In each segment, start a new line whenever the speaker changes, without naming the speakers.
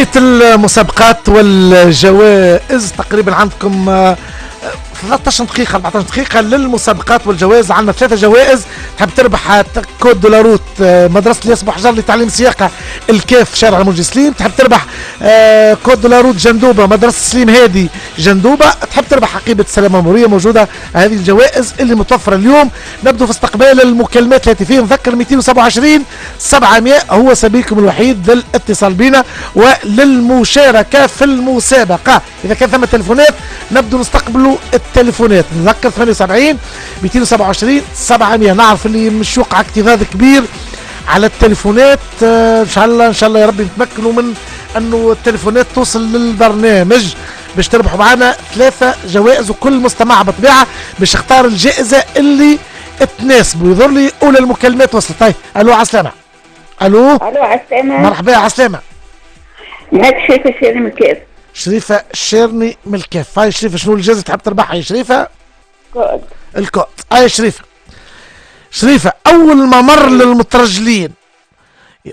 بداية المسابقات والجوائز تقريبا عندكم 13 دقيقة 14 دقيقة للمسابقات والجوائز. عندنا 3 جوائز. تحب تربح code de la route مدرسة الياس بوحجر لتعليم السياقة الكاف شارع المنجي سليم، تحب تربح code de la route جندوبة مدرسة سليم هادي جندوبة، تحب تربح حقيبة السلامة المرورية. موجودة هذه الجوائز اللي متوفرة اليوم. نبدو في استقبال المكالمات الهاتفية. نذكر 227 700 هو سبيلكم الوحيد للاتصال بنا وللمشاركة في المسابقة. إذا كان ثم تليفونات نبدو نستقبلوا التليفونات. نذكر 78 227 700. نعرف اللي مش وقع اكتظاظ كبير على التليفونات. ان شاء الله ان شاء الله يا ربي نتمكنوا من انه التليفونات توصل للبرنامج باش تربحوا معنا 3 جوائز، وكل مستمع بطبيعة باش يختار الجائزة اللي تناسبه. يظهر لي اولى المكالمات وصلت. طيب الو عسلامة. الو
الو عسلامة.
مرحبا عسلامة.
معك شريفة شيرني من الكاف.
شريفة شيرني من الكاف. هاي شريفة شنو الجائزة تحب تربحها يا شريفة؟
كود.
الكود. هاي شريفة. شريفة أول ممر للمترجلين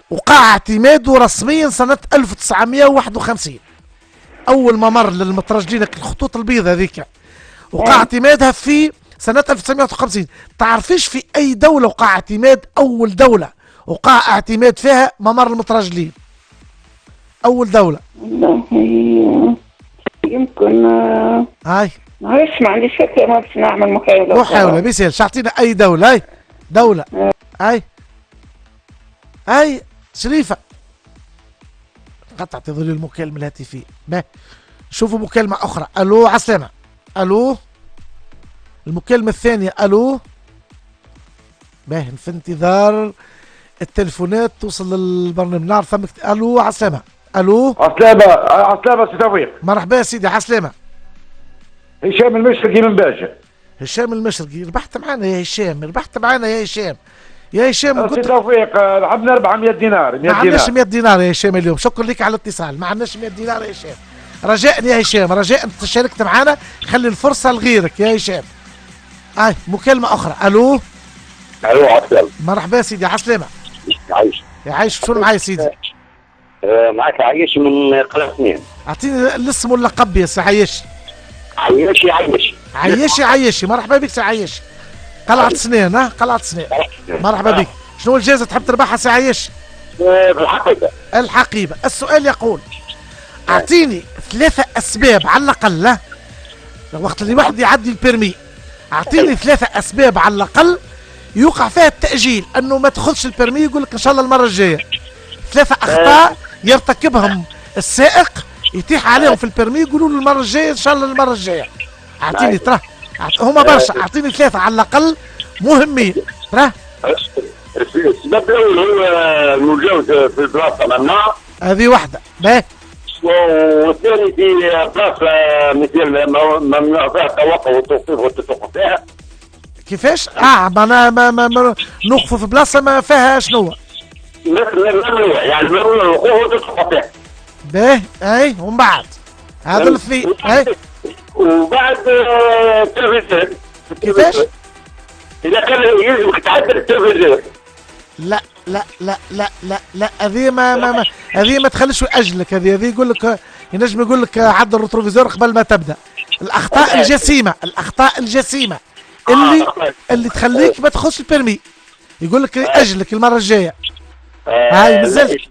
وقع اعتماده رسميا سنة 1951. أول ممر للمترجلين الخطوط البيضاء هذيك وقع اعتمادها في سنة 1951. تعرفيش في أي دولة وقع اعتماد أول دولة وقع اعتماد فيها ممر المترجلين؟ أول دولة.
والله يمكن
هاي
معلش ما عنديش فكرة، ما باش نعمل محاولة.
محاولة بيسالش، اعطينا أي دولة. هاي دولة. هاي هاي شريفة. قطعت ظل المكالمة الهاتفية. باهي شوفوا مكالمة أخرى. ألو عسلامة. ألو المكالمة الثانية. ألو باهي في انتظار التليفونات توصل للبرنامج. نعرف ثمك. ألو عسلامة. ألو
عسلامة. عسلامة سي توفيق.
مرحبا سيدي عسلامة.
هشام المشرقي من باجة.
هشام المشرقي ربحت معنا يا هشام، ربحت معنا يا هشام. يا هشام
سي توفيق لعبنا 400 دينار. 100 دينار
ما عندناش 100 دينار يا هشام اليوم. شكرا لك على الاتصال. ما عندناش 100 دينار يا هشام. رجاء يا هشام، رجاء انت شاركت معنا، خلي الفرصة لغيرك يا هشام. اي مكالمة أخرى. ألو
ألو عسلامة.
مرحبا سيدي عسلامة.
يعيش
يعيش. شنو معايا سيدي؟
معك عيش من قناة 2.
أعطيني الاسم واللقب يا سي عيش.
عيشي عيشي.
عيشي عيشي. مرحبا بك سي عيش. قلعة سنان. ها قلعة سنان. مرحبا بك. شنو الجائزة تحب تربحها سي عيش؟
الحقيبة.
الحقيبة. السؤال يقول أعطيني 3 أسباب على الأقل وقت اللي واحد يعدي ال permis، أعطيني 3 أسباب على الأقل يوقع فيها التأجيل، أنه ما تاخذش ال permis يقول لك إن شاء الله المرة الجاية. 3 أخطاء يرتكبهم السائق يتيح عليهم في ال permis يقولوا له المرة الجاية إن شاء الله المرة الجاية. أعطيني ترى هما برشا، أعطيني 3 على الأقل مهمين. ترى
السبب الأول هو المجاوزة في البلاصة ممنوع.
هذه واحدة. باهي.
والثاني في بلاصة مثل ممنوع فيها التوقف والتوقيف والتوقف فيها.
كيفاش؟ معناها ما نوقفوا في بلاصة ما فيها شنو؟
ممنوع يعني ممنوع الوقوف والتوقف فيها.
باهي اي ومن بعد هذا الاثنين اي
وبعد ال rétroviseur.
كيفاش؟
إذا كان يلزمك تعدل ال rétroviseur.
لا لا لا لا لا لا هذه ما هذه ما تخليش يأجلك. هذه يقول لك ينجم يقول لك عدل ال rétroviseur قبل ما تبدا. الاخطاء الجسيمة، الاخطاء الجسيمة اللي تخليك ما تاخذش ال permis يقول لك اجلك المرة الجاية. هاي مازالت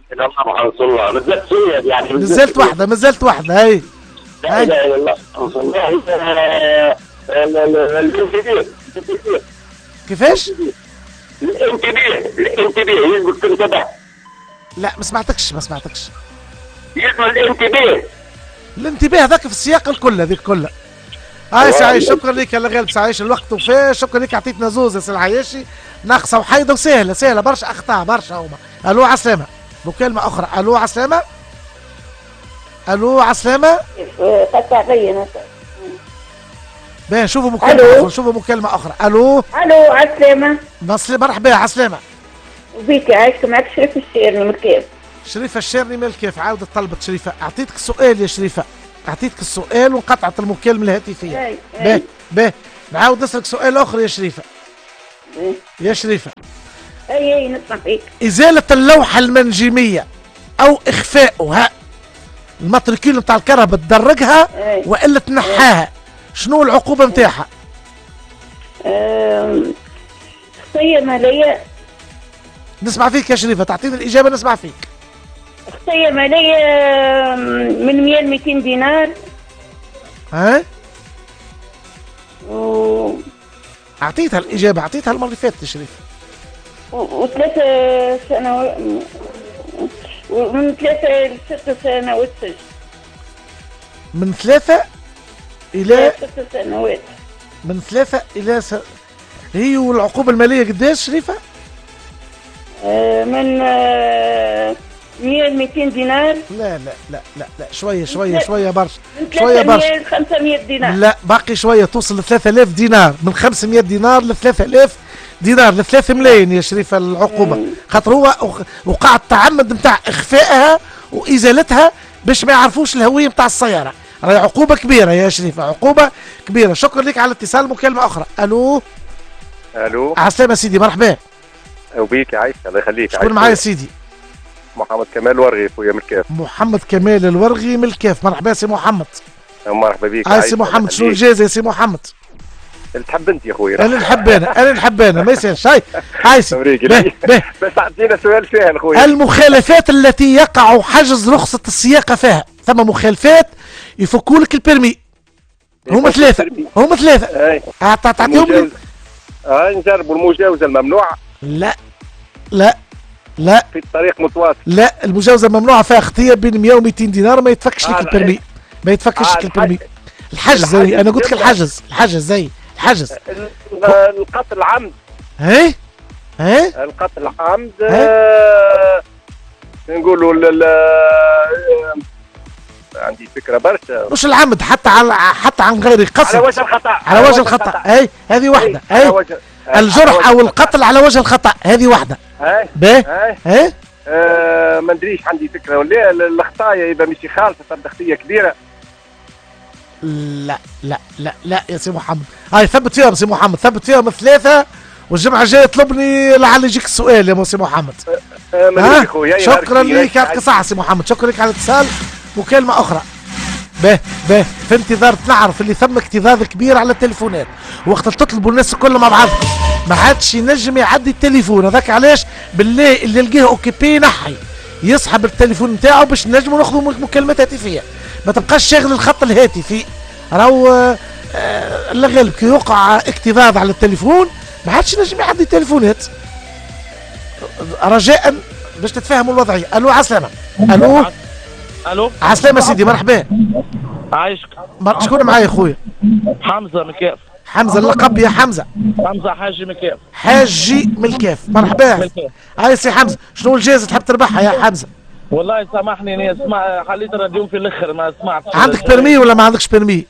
يعني
مازالت واحدة، مازالت واحدة. هاي
لا اله الا الله.
كيفاش؟
الانتباه، الانتباه يلزمك تنتبه.
لا ما سمعتكش، ما سمعتكش.
يلزم الانتباه.
الانتباه هذاك في السياق الكل، هذيك كلها. هاي سي عايش شكرا لك يا غالب سي عايش، الوقت وفاه. شكرا لك عطيتنا زوز يا سي العياشي، ناقصه وحيده وسهلة، سهلة برشا اخطاء برشا هما. الو عسلامة. مكالمة اخرى. الو عسلامة. الو عسلامة. باهي شوفوا مكالمة أخرى، شوفوا مكالمة أخرى. ألو.
ألو عسلامة.
مرحبا عسلامة.
وبيك عايشك. معك شريفة الشيرني من الكيف.
شريفة الشيرني من الكيف. عاودت طلبت شريفة. أعطيتك السؤال يا شريفة، أعطيتك السؤال وانقطعت المكالمة الهاتفية. باهي باهي نعاود نسألك سؤال آخر يا شريفة. يا شريفة.
أي أي نسمع فيك.
إزالة اللوحة المنجمية أو إخفاؤها ال matricule نتاع الكرهبة تدرجها والا تنحاها، شنو العقوبة نتاعها؟
خطية مالية.
نسمع فيك يا شريفة، تعطيني الإجابة نسمع فيك.
خطية مالية من 100 ل 200 دينار.
ها؟ أعطيتها الإجابة، أعطيتها المرة اللي فاتت يا شريفة.
وثلاثة سنوات، ومن 3 ل 6 سنوات سجن.
من 3 إلى
6 سنوات.
من 3 إلى هي. والعقوبة المالية قداش شريفة؟
من 100 ل 200 دينار.
لا لا لا لا لا، شوية شوية شوية برشا، شوية برشا.
من 500 دينار.
لا باقي شوية، توصل ل 3000 دينار، من 500 دينار ل 3000 دينار، ل 3 ملايين يا شريفة العقوبة، خاطر هو وقع التعمد نتاع إخفائها وإزالتها باش ما يعرفوش الهوية نتاع السيارة. راهي عقوبة كبيرة يا شريفة، عقوبة كبيرة. شكرا لك على الاتصال. مكالمة أخرى. ألو.
ألو.
عسلامة سيدي، مرحبا.
وبيك عايش، الله يخليك.
شكون معايا سيدي؟
محمد كمال الورغي خويا من الكاف.
محمد كمال الورغي من الكاف، مرحبا سي محمد.
مرحبا بيك.
هاي سي محمد، شنو الجائزة يا سي محمد؟
اللي تحب انت يا خويا.
انا نحب انا، انا نحب انا، ما يصيرش. هاي هاي سي.
بس اعطينا سؤال سهل خويا.
المخالفات التي يقع حجز رخصة السياقة فيها، ثم مخالفات يفكوا لك ال permis. هما ثلاثة، هما ثلاثة. تعطيهم لي.
نجربوا المجاوزة الممنوعة.
لا لا لا،
في الطريق متواصل.
لا، المجاوزة ممنوعة فيها خطية بين 100 و 200 دينار، ما يتفكش لك ال permis، ما يتفكش لك ال permis. الحجز زي انا قلت لك، الحجز، الحجز زي الحجز.
القتل عمد.
ايه ايه
القتل عمد. نقولوا عندي فكرة برشا.
مش العمد، حتى على حتى عن غير قصد،
على وجه الخطأ.
على وجه الخطأ. اي هذه واحدة. اي الجرح او القتل على وجه الخطأ، هذه واحدة. باهي. اي
ما ندريش، عندي فكرة ولا الخطايا يبقى مش خالصة، تبدا خطية كبيرة.
لا لا لا لا يا سي محمد، هاي ثبت فيهم سي محمد، ثبت فيهم ثلاثة، والجمعة الجاية طلبني لعل يجيك السؤال يا سي محمد. شكرا لك، يعطيك الصحة سي محمد، شكرا لك على الاتصال. مكالمة أخرى. باه باه، في انتظار نعرف اللي ثم اكتظاظ كبير على التليفونات، وقت تطلبوا الناس الكل مع بعضهم ما عادش ينجم يعدي التليفون، هذاك علاش بالله اللي يلقاه occupé نحي يسحب التليفون نتاعو باش نجموا ناخذوا مكالمات هاتفيه، ما تبقاش شاغل الخط الهاتفي، راهو الغالب كي يوقع اكتظاظ على التليفون ما عادش ينجم يعدي التليفونات. رجاء باش تتفهموا الوضعية. الو عسلامة. الو.
الو
عسلامة سيدي، مرحبا.
عايشك.
شكون معايا خويا؟
حمزة من الكاف.
حمزة اللقب يا حمزة.
حمزة حاجي من الكاف.
حاجي من الكاف، مرحبا. هاي سي حمزة، شنو الجائزة تحب تربحها يا حمزة؟
والله سامحني انا اسمع حليت الراديو في الاخر ما سمعتش.
عندك permis ولا ما عندكش permis؟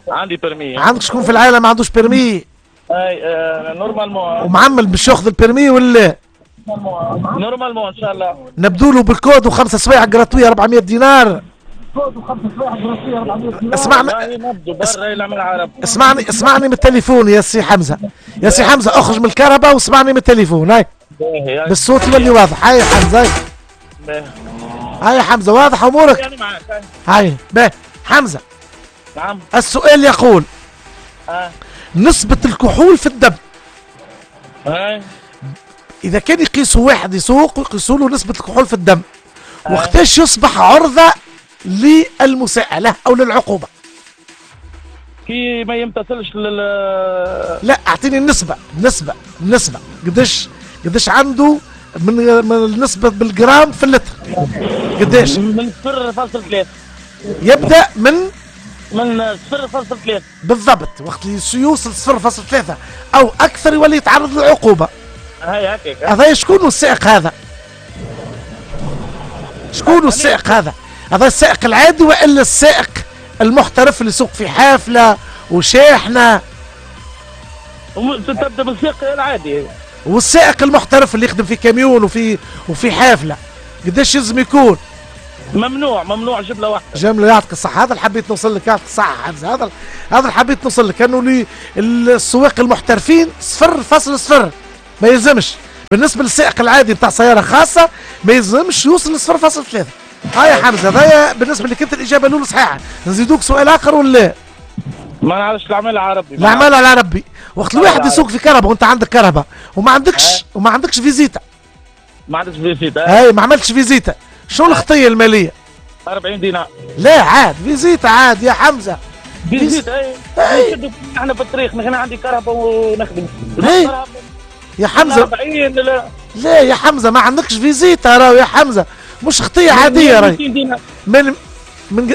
عندي permis.
عندك شكون في العائلة ما عندوش permis؟
اي normalement.
ومعمل باش ياخذ ال permis ولا؟
normalement ان شاء الله.
نبدو له بالكود وخمسة سوايع gratuits 400 دينار. اسمعني اسمعني اسمعني من التليفون يا سي حمزة، يا سي حمزة اخرج من الكهرباء واسمعني من التليفون. هاي بالصوت يولي واضح. هاي حمزة، هاي يا حمزة واضح امورك؟ هاي باهي حمزة.
نعم.
السؤال يقول نسبة الكحول في الدم. إذا كان يقيسوا واحد يسوق ويقيسوا له نسبة الكحول في الدم، وقتاش يصبح عرضة للمساءلة أو للعقوبة؟
كي ما يمتثلش لل
لا أعطيني النسبة، النسبة، النسبة قداش عنده من النسبة بالجرام في اللتر؟ قداش؟
من 0.3.
يبدأ من
0.3
بالضبط. وقت اللي يوصل 0.3 أو أكثر يولي يتعرض للعقوبة.
هاي هكاك.
هذا شكون السائق هذا؟ شكون السائق هذا؟ هذا السائق العادي والا السائق المحترف اللي يسوق في حافلة وشاحنة؟
تبدا بالسائق العادي.
والسائق المحترف اللي يخدم في كاميون وفي حافلة قداش يلزم يكون؟
ممنوع، ممنوع جملة واحدة.
جملة. يعطيك الصحة، هذا اللي حبيت نوصل لك. يعطيك الصحة حمزة، هذا اللي حبيت نوصل لك، انه السواق المحترفين 0.0 ما يلزمش. بالنسبة للسائق العادي بتاع سيارة خاصة ما يلزمش يوصل ل 0.3. هاي يا حمزة، هذايا بالنسبة لك انت الاجابة الاولى صحيحه، نزيدوك سؤال اخر ولا؟
ما نعرفش، العمل على ربي.
العمل على ربي. وقت الواحد يسوق في كرهبه وانت عندك كرهبه وما عندكش فيزيتا.
ما عندكش فيزيتا.
هاي ما عملتش فيزيتا، شنو الخطية المالية؟
40 دينار.
لا عاد فيزيتا عاد يا حمزة.
فيزيتا اي. احنا في الطريق، انا عندي كرهبه ونخدم.
يا حمزة 40. لا يا حمزة ما عندكش فيزيتا راهو يا حمزة، مش خطيه عادية راهي. من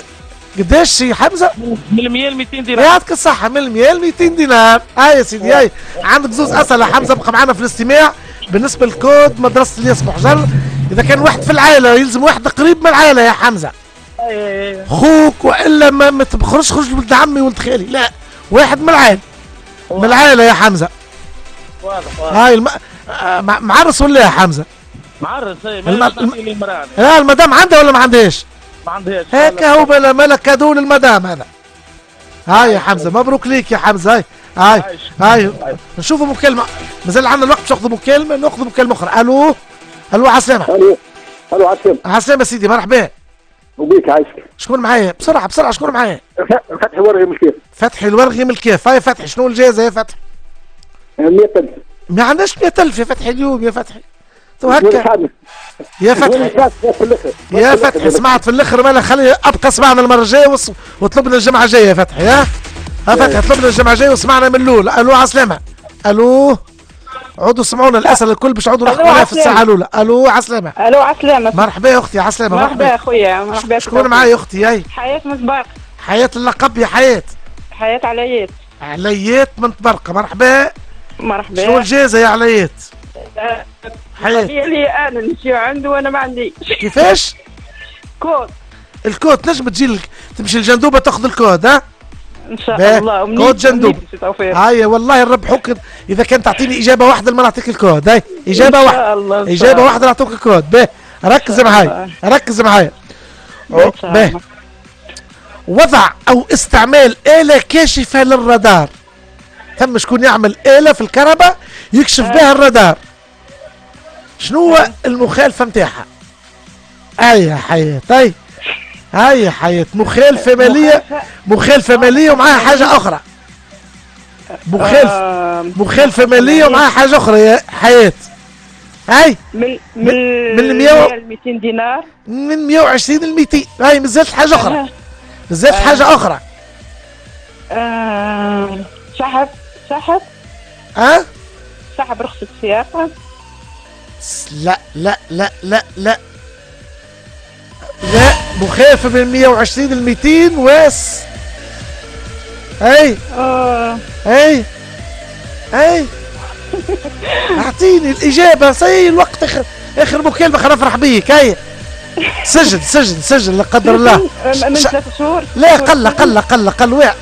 قداش يا حمزة؟
من 100 ل 200 دينار.
يعطيك الصحة، من 100 ل 200 دينار. هاي يا سيدي هاي عندك زوز اسئلة حمزة، ابقى معنا في الاستماع. بالنسبة للكود مدرسه الياس بوحجر، اذا كان واحد في العائلة يلزم واحد قريب من العائلة يا حمزة. خوك والا ما تخرجش خرج ولد عمي ولد خالي، لا واحد من العائلة. من العائلة يا حمزة.
واضح واضح.
هاي معرس ولا يا حمزة؟
معرس اي.
لا المدام عندها ولا ما عندهاش؟
ما عندهاش.
هكا هو بلا ملك cadeau للمدام هذا. هاي يا حمزة مبروك ليك يا حمزة. هاي هاي هاي نشوفوا مكالمة، مازال عندنا الوقت باش ناخذوا مكالمة، ناخذوا مكالمة اخرى. الو الو عسلامة.
الو الو عسلامة.
عسلامة سيدي، مرحبا.
وبيك عايشك.
شكون معايا؟ بسرعة بسرعة شكون معايا؟
فتحي الورغي من الكيف.
فتحي الورغي من الكيف. هاي فتحي شنو الجائزة يا فتحي؟
100000.
ما عندناش 100000 يا فتحي اليوم يا فتحي. تو هكا يا فتحي يا فتحي سمعت في الاخر، مالا خلي ابقى سمعنا المرة الجاية وطلبنا الجمعة الجاية يا فتحي. ها فتحي طلبنا الجمعة الجاية وسمعنا من الاول. الو عسلامة. الو عودوا سمعونا الاسئلة الكل باش عودوا نحكوا عليها في الساعة الاولى. الو عسلامة.
الو عسلامة.
مرحبا يا اختي. عسلامة.
مرحبا يا خويا. مرحبا.
شكون معايا يا اختي؟ هاي
حياة من طبرقه.
حياة اللقب يا حياة.
حياة عليات.
عليات من طبرقه. مرحبا.
مرحبا.
شنو الجائزة يا عليات؟
حياة لي انا نمشي عنده وانا ما عنديش.
كيفاش؟
كود.
الكود تنجم تجي تمشي لجندوبه تاخذ الكود. ها؟
ان شاء الله.
كود جندوب. هاي والله نربحوك اذا كان تعطيني اجابه واحدة ما نعطيك الكود. هاي اجابه واحدة. اجابه واحدة نعطوك الكود. باهي ركز معايا ركز معايا. باهي وضع او استعمال آلة كاشفة للرادار. ثم شكون يعمل آلة في الكهرباء يكشف بها الرادار. شنو هو المخالفة نتاعها؟ اي يا حياة. طيب هاي يا حياة مخالفة مالية. مخالفة مالية ومعاها حاجة أخرى. مخالفة مالية ومعاها حاجة أخرى يا حياة. هاي
من 100 ل 200 دينار.
من 120 ل 200. هاي مازالت حاجة أخرى. مازالت حاجة أخرى.
سحب سحب
أه؟
سحب رخصة سياقة.
لا لا لا لا لا لا. مخالفة من 120 ل 200 واس. اي اي اي اعطيني الإجابة. سي الوقت اخر مكالمة خلينا نفرح بيك. هاي سجل سجل سجل لا قدر الله.
من 3 شهور.
لا قل قل قل قل واحد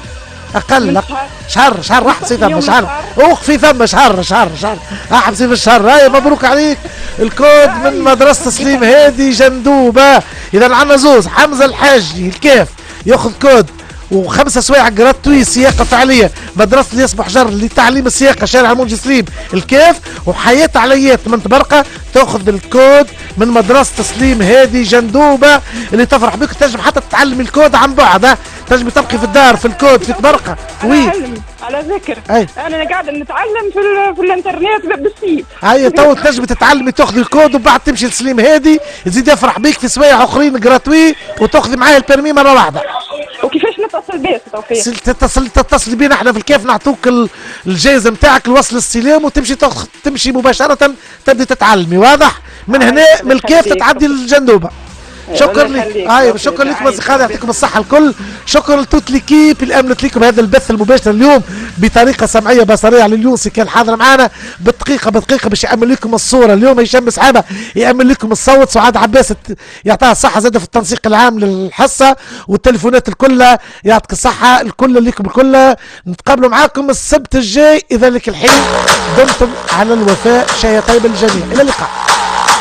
اقل شهر شهر احبسي ثم شهر اوقفي ثم شهر شهر شهر احبسي في الشهر. هاي مبروك عليك الكود من مدرسة سليم هادي جندوبة. اذا عندنا زوز حمزة الحاجي الكاف ياخذ كود وخمسة سوايع gratuit سياقة فعلية مدرسة الياس بوحجر لتعليم السياقة شارع المنجي سليم الكاف، وحياة عليات من طبرقة تاخذ الكود من مدرسة سليم هادي جندوبة اللي تفرح بك. تنجم حتى تتعلم الكود عن بعد، تنجم تبقي في الدار في الكود في طبرقة.
oui على ذكر أي. انا قاعدة نتعلم في الانترنت بالسيف.
هيا تو تنجم تتعلمي تاخذي الكود وبعد تمشي لسليم هادي يزيد يفرح بيك في سوايع اخرين gratuit وتاخذي معاه ال permis مرة واحدة.
وكيفاش نتصل بيه توفيق؟
تتصل بينا احنا في الكاف نعطوك الجائزة نتاعك الوصل السلام وتمشي تمشي مباشرة تبدي تتعلمي. واضح؟ من هنا من الكاف تتعدي للجندوبه. شكرا لك. ايوه شكرا لكم اصدقائي، يعطيكم الصحة الكل. شكرا ل toute l'équipe اللي امنت لكم هذا البث المباشر اليوم بطريقة سمعية بصريه. على اليونسي كان حاضر معنا بالدقيقة بدقيقة باش يامن لكم الصورة اليوم. هشام سحابه يامن لكم الصوت. سعاد عباس يعطيها الصحة زاده في التنسيق العام للحصه والتليفونات الكل. يعطيك الصحة الكل لكم الكل. نتقابلوا معاكم السبت الجاي. اذا لك الحين دمتم على الوفاء. شهية طيبة للجميع. الى اللقاء.